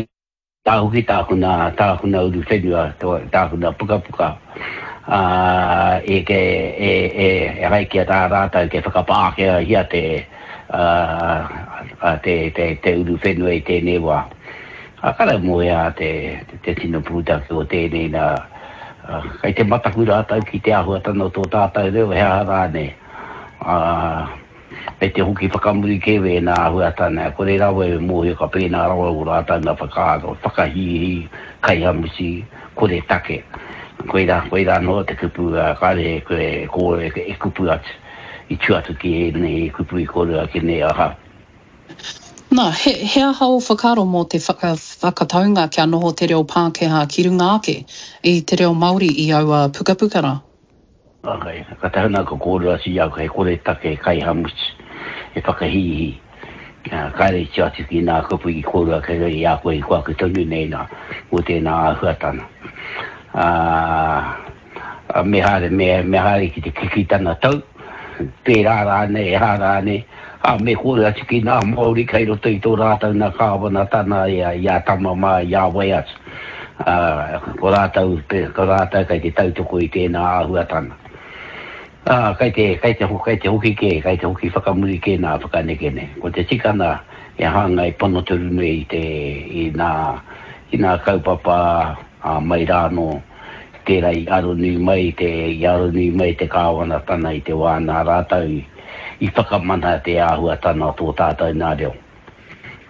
Speaker 8: Tā hoki tāku nā, tāku nā uruwhenua, tāku nā pukapuka, ā, e, e, e, e, e ai ki a tā rātou kei whakapākehāhia te, ā, te, te, te uruwhenua i tēnei wā. Ā, ka rau moeā te, te tino pūtake o tēnei nā, ā, kei te mataku rātou ki te āhuatanga o tō tātou reo, he aha rānei, ā, Me te hoki whakamuri kē wēnā āhuatana, kore rawa e mōhio ka pēnā rawa ō rātau nā whakaaro, whakahīhī, kaihamuti, kore take. Koirā, koirā noa te kupu, kāre e koe e kōrero, e kupu atu, i tua atu ki ēnei kupu i kōrero ake nei ahau.
Speaker 2: Nā, he, he aha ō whakaaro mō te whaka, whakataunga kia noho te reo Pākehā ki runga ake i te reo Māori i aua pukapuka rā?
Speaker 8: Okay. Ka tae ana ka kōrero atu i a koe, he koretake, he kaihamutu, he whakahīhī. Kāre i tua atu ki nā kupu i kōrero ake i a koe i ko aku tonu nei nā, mō tēnā āhuatana. Ā, me haere, me, me haere ki te kiki tana tau, pērā rānei, e hā rānei, ā, me kōrero atu ki nā Māori kei roto i tō rātou nā kāwanatana i a, i a Tama mā, i a wai atu. Ā, ko rātou, ko rātou kei te tautoko i tēnā āhuatanga. Ā, kei te, kei te, kei te hoki kē, kei te hoki whakamuri kē nā whakaneke nei. Ko te tikanga e hāngai pono tonu nei i te, i nā, i nā kaupapa, ā, mai rā anō, tērā i aronui mai te, i aronui mai te kāwanatana i te wā nā rātou i, i whakamana te āhuatana o tō tātou nā reo.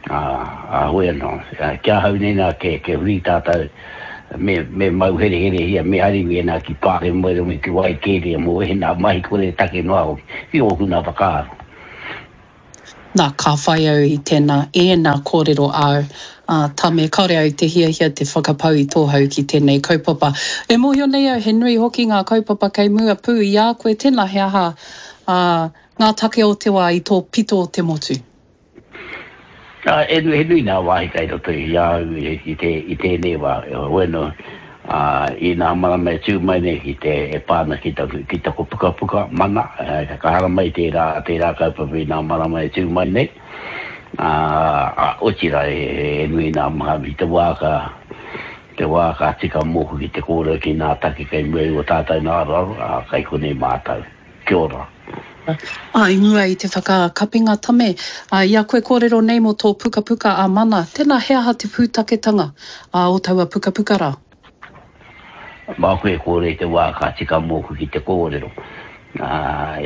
Speaker 8: Ā, ā, hoi anō, ki ahau nei nā, ke, ke huri tātou, me, me mau hereherehia, me hari wēnā ki Pāremoeroe, ki Waikēria mō ēnā mahi kore take noa hoki, ki ōku nā whakaaro.
Speaker 2: Nā, ka whai au i tēnā, ēnā kōrero āu, ā, Tame, kāore au i te hiahia te whakapau i tō hau ki tēnei kaupapa. E mōhio nei au he nui hoki ngā kaupapa kei mua pū i a koe, tēnā he aha, ā, ngā take o te wā i tō pito o te motu?
Speaker 8: Ā, e nui, he nui ngā wāhi kei roto i a au i te, i tēnei wā. Heoi anō, ā, i nā marama e tū mai nei ki te, e pā ana ki taku, ki taku pukapuka, Mana, ka haramai tērā, tērā kaupapa i nā marama e tū mai nei. Ā, ā, otirā, he, he nui nā maha i te wā ka, te wā ka tika mōku ki te kōrero ki nā take kei mua i ō tātou nā aroaro, ā, kei konei mātou. Kia ora.
Speaker 2: Ā, i mua i te whakakapinga tame, ā, i a koe kōrero nei mō tō pukapuka a Mana, tēnā he aha te pūtaketanga, ā, o taua pukapuka rā?
Speaker 8: Māku e kōrero i te wā ka tika mōku ki te kōrero. Ā,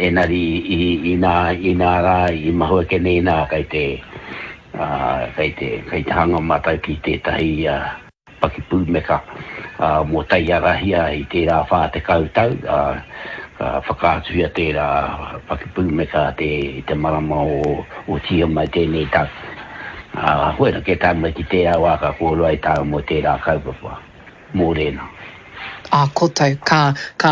Speaker 8: engari i, inā, inā rā, i mahue ake nei nā, kei te, ā, kei te, kei te hanga mātou ki tētahi, ā, Pakipūmeka mō Taiarahia i tērā 40 tau, ā, ka whakaatuhia tērā pakipūmeka i te marama o Tīhema i tēnei tau. Ā, koinā kē tae mai ki tērā wā ka kōrero ai tāua mō tērā kaupapa. Mōrena.
Speaker 2: Ā koutou, ka, ka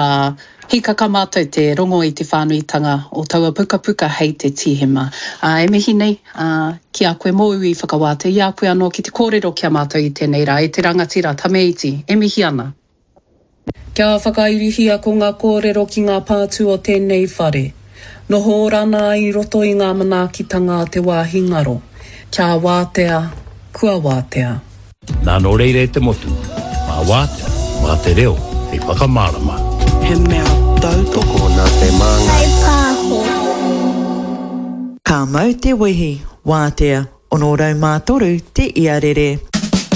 Speaker 2: Hīkaka mātou te rongo i te whānuitanga o taua pukapuka hei te Tīhema. Ā, e mihi nei, ā, ki a koe mōu i whakawātea i a koe anō ki te kōrero ki a mātou i tēnei rā, e te rangatira Tame Iti, e mihi ana. Kia whakairihia ko ngā kōrero ki ngā pātū o tēnei whare. Noho ora ana i roto i ngā manaakitanga a te wāhi ngaro. Kia wātea, kua wātea.
Speaker 9: Nā nō reira e te motu, mā Wātea, mā te reo hei whakamārama.
Speaker 10: He mea tautoko
Speaker 11: nā te Māngai.
Speaker 12: Kaipāho.
Speaker 3: Ka mau te wehi, wātea, 603 te iarere.